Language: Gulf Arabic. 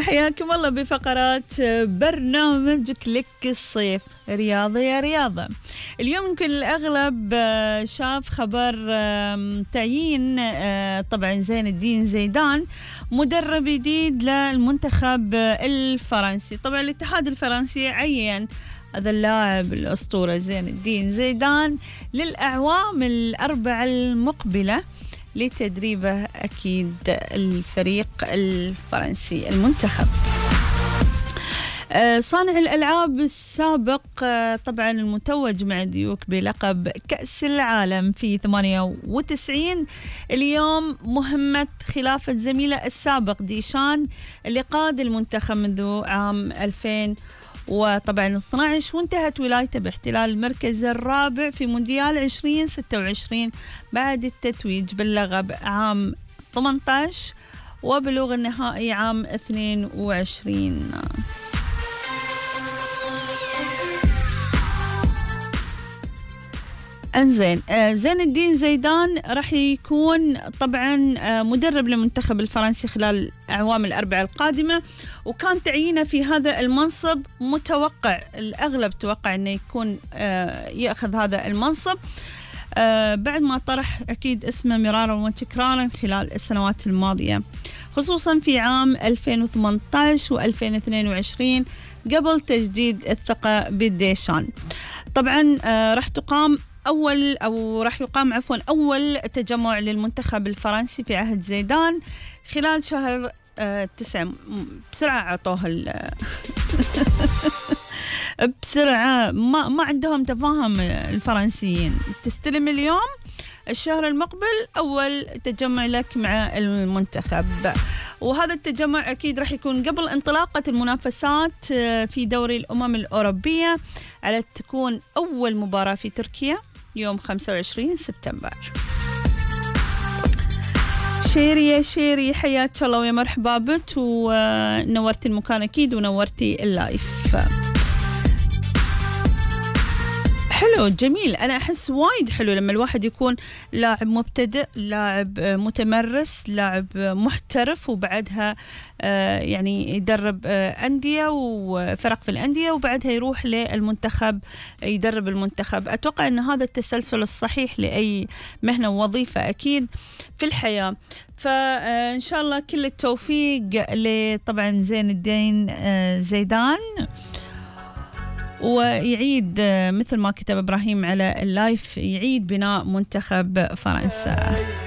حياكم الله بفقرات برنامج كليك الصيف. رياضة يا رياضة. اليوم يمكن الأغلب شاف خبر تعيين طبعا زين الدين زيدان مدرب جديد للمنتخب الفرنسي. طبعا الاتحاد الفرنسي عين هذا اللاعب الأسطورة زين الدين زيدان للأعوام الأربعة المقبلة لتدريبه أكيد الفريق الفرنسي المنتخب. صانع الألعاب السابق طبعا المتوج مع ديوك بلقب كأس العالم في 98 اليوم مهمة خلافة زميله السابق ديشان اللي قاد المنتخب منذ عام 2000 وطبعا 12 وانتهت ولايته باحتلال المركز الرابع في مونديال 2026 بعد التتويج باللقب عام 18 وبلوغ النهائي عام 22. انزين زين الدين زيدان راح يكون طبعا مدرب للمنتخب الفرنسي خلال الأعوام الأربعة القادمة، وكان تعيينه في هذا المنصب متوقع، الأغلب توقع أنه يكون يأخذ هذا المنصب بعد ما طرح أكيد اسمه مرارا وتكرارا خلال السنوات الماضية، خصوصا في عام 2018 و2022 قبل تجديد الثقة بديشان. طبعا راح يقام أول تجمع للمنتخب الفرنسي في عهد زيدان خلال شهر 9. بسرعة عطوه بسرعة ما عندهم تفاهم الفرنسيين. تستلم اليوم الشهر المقبل أول تجمع لك مع المنتخب، وهذا التجمع أكيد راح يكون قبل انطلاقة المنافسات في دوري الأمم الأوروبية على تكون أول مباراة في تركيا يوم 25 سبتمبر. شيري يا شيري حياك الله ويا مرحبا بك ونورتي المكان أكيد ونورتي اللايف. حلو جميل. أنا أحس وايد حلو لما الواحد يكون لاعب مبتدئ، لاعب متمرس، لاعب محترف، وبعدها يعني يدرب أندية وفرق في الأندية وبعدها يروح للمنتخب يدرب المنتخب. أتوقع أن هذا التسلسل الصحيح لأي مهنة ووظيفة أكيد في الحياة. فإن شاء الله كل التوفيق لطبعا زين الدين زيدان، ويعيد مثل ما كتب إبراهيم على اللايف يعيد بناء منتخب فرنسا.